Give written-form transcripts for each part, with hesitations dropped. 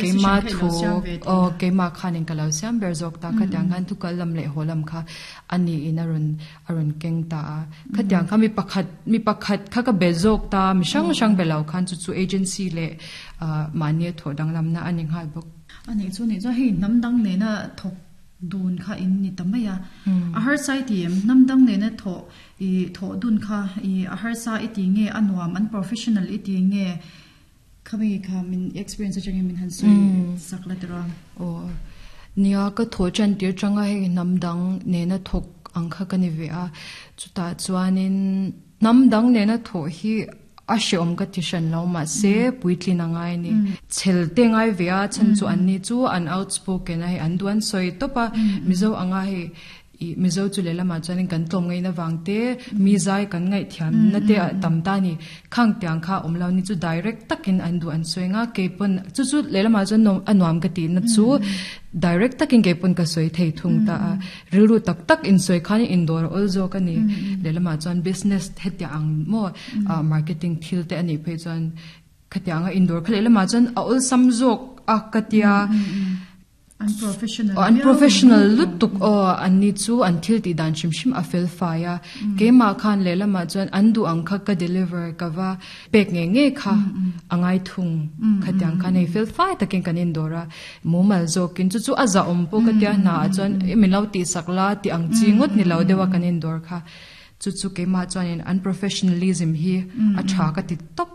Keima thu aw keimah khanin ka lo siam ber zawk ta khatiang khan thu kal lam leh haw lam kha a niin a rawn a rawn keng ta a. Khatiang kha mi pakhat mi pakhat kha ka be zawk ta mi hrang hrang be lo khan chu chu agency leh mahni a thawh danglamna a ni nghal bawk. A nih chu nih chuan hei hnam dang nena thawk dun kha in ni ta mai a. A harsa i ti em? Hnam dang nena thawh i thawh dun kha i a harsa i ti nge a nuam an professional i ti nge? Khami kha min experience atangin min han sawi sak la tiraw? Aw, nia ka thawh tan tir tanga hei hnam dang nena thawk ang kha ka ni ve a, chutah chuanin hnam dang nena thawh hi a hreawm ka ti hran lo mahse puitlin a ngai a ni. Chhel te ngai ve a chhan chu anni chu an outspoken a hei an duh an sawi tawp a, Mizo anga hei Ih Mizo chu lehlamah chuanin kan tlawm ngaihna vang te, mi zai kan ngaihthiamna te a tam ta a ni. Khang tiang kha awm lo ni chu direct takin an duh an sawi nga, keipawn chu chu lehlamah chuan nuam a nuam ka tihna chu direct takin keipawn ka sawi thei thung ta a. Rilru tak tak insawi khan indawr a awl zawk a ni. Lehlamah chuan business hetiang ang maw marketing thil te a nih phei chuan khatianga indawr kha lehlamah chuan a awlsam zawk a ka tia. An professional An professional lutuk aw an ni chu an thil tih dan hrim hrim a fel fai a keimah khan lehlamah chuan an duh ang kha ka deliver ka va pek ngei ngei kha a ngai thung khatiang khan hei fel fai takin kan indawr a mumal zawkin chu chu a zahawm pawh ka tia hna ah chuan min lo tihsak la tih ang chi ngawt ni lo deuh a kan indawr kha chu chu keimah chuanin an professionalism hi a tha ka ti tawp.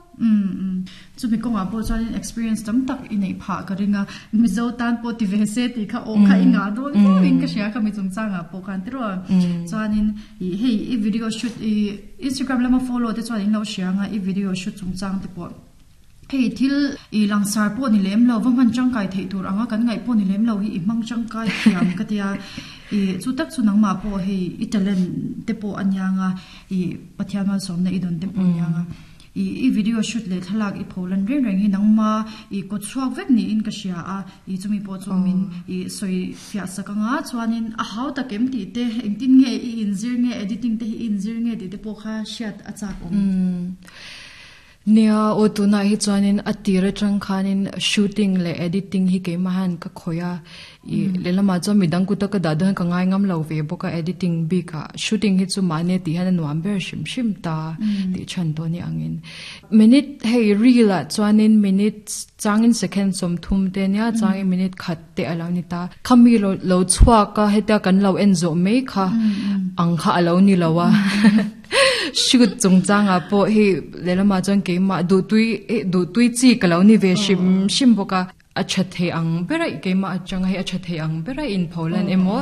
Chumi kawngah pawh chuanin experience tam tak i neih phah ka ring a, Mizo tan pawh ti ve se tih kha aw kha i ngah dawn viau in ka hria kha mi chungchangah pawh khan tiraw. Chuanin ih hei i video shoot i Instagram lama follow te chuan in lo hria anga i video shoot chungchang te pawh hei thil i langsar pawh ni lem lo va hman tangkai theih tur anga kan ngaih pawh ni lem lo hi i hmang tangkai thiam ka tia ih chu tak chu nangmah pawh hei i talent te pawh a niang a ih Pathian malsawmna i dawn te pawh a niang a. I i video shoot leh thlalak i pho lan reng reng hi nangma i kawt chhuak vek niin ka hria a, i chumi pawh chu min i sawi fiah sak anga chuanin a hau tak em tih te engtin nge i inzir nge editing te hi i inzir nge tih te pawh kha hriat a chak awm. Nia aw tunah hi chuanin a tir atang khanin shooting leh editing hi keimah hian ka khawih a, I lehlamah chuan midang kuta ka dah dawn ka ngai ngam lo ve bawk a editing bikah shooting hi chu mahni tih hian a nuam ber hrim hrim ta tih chhan tawh ni angin minute hei reel ah chuanin minute changin second 30 te ania changin minute khat te a lo ni ta khami lo lo chhuak a hetia kan lo en zawh mai kha ang kha a lo ni lo a shoot chungchangah pawh hei lehlamah chuan keimah duhtui duhtui chi ka lo ni ve hrim hrim bawk a. A tha thei ang bera keimah atanga hei a tha thei ang bera inpho lan emaw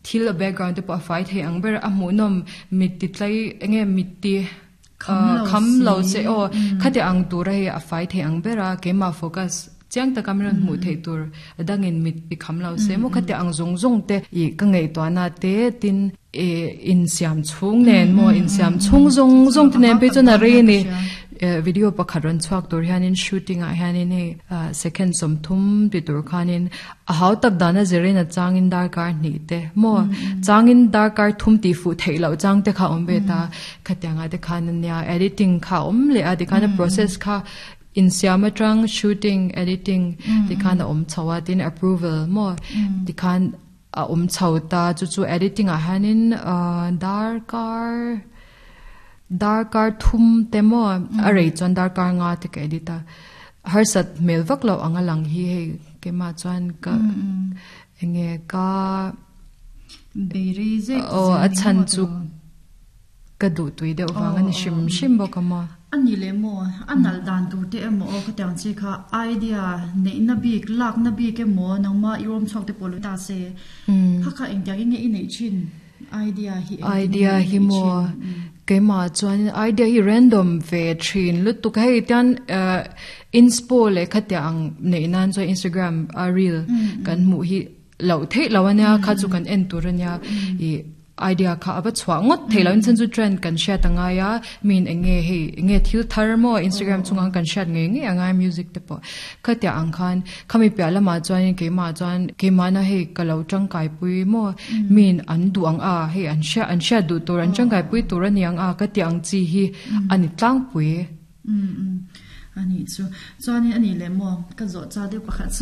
thil a background te pawh a fai thei ang bera a hmuhnawm mit ti tlai enge mit ti kham lo che aw khati ang tura hei a fai thei ang bera keimah focus chiang taka min rawn hmuh theih tur a dangin mit ti kham lo se maw khati ang zawng zawng te ih ka ngaihtuahna te tin ih insiam chhung nen maw insiam chhung zawng zawng te nen phei chuan a rei a ni. Video pakhat rawn chhuak tur hianin shooting ah hianin hei second 30 ti tur khanin a hau tak dana zirin a changin darkar hnih te maw changin darkar thum tih fuh theih loh chang te kha awm ve ta khatiang ah te khan ania editing kha a awm leh a tikhan a process kha insiam atang shooting editing tikhan a awm chho a tin approval maw tikhan a awm chho ta chu chu editing ah hianin darkar Darkar thum te maw a rei chuan darkar nga te ka edit a harsat hmel vak loh ang a lang hi hei keimah chuan ka enge ka aw a chhan chu ka duh tui deuh vang a ni hrim hrim bawk a maw. A ni leh maw a nalh dan tur te emaw aw khatiang chi kha idea neihna bik lakna bik emaw nangma i rawm chhuak te pawh lo ta se kha kha engtiang in nge i neih thin. Idea hi Idea hi maw keimah chuan idea hi random ve thin lutuk hei tian inspo leh khatia ang neih nan chuan Instagram a reel kan hmuh hi loh theih loh ania kha chu kan en tur ania ih idea kha a va chhuah ngawt theih loh in chhan chu trend kan hriat a ngai a min eng nge hei eng nge thil thar maw Instagram chungah kan hriat ngei ngei a ngai music te pawh Khatiang ang khan khami piah lamah chuanin keimah chuan keimahna hei ka lo tangkaipui maw miin an duh ang a hei an hria an hriat duh tur an tangkaipui tur a ni ang a ka tih ang chi hi a ni tlangpui. Ani chu. Chuanin ani leh maw ka zawh cha deuh pakhat chu.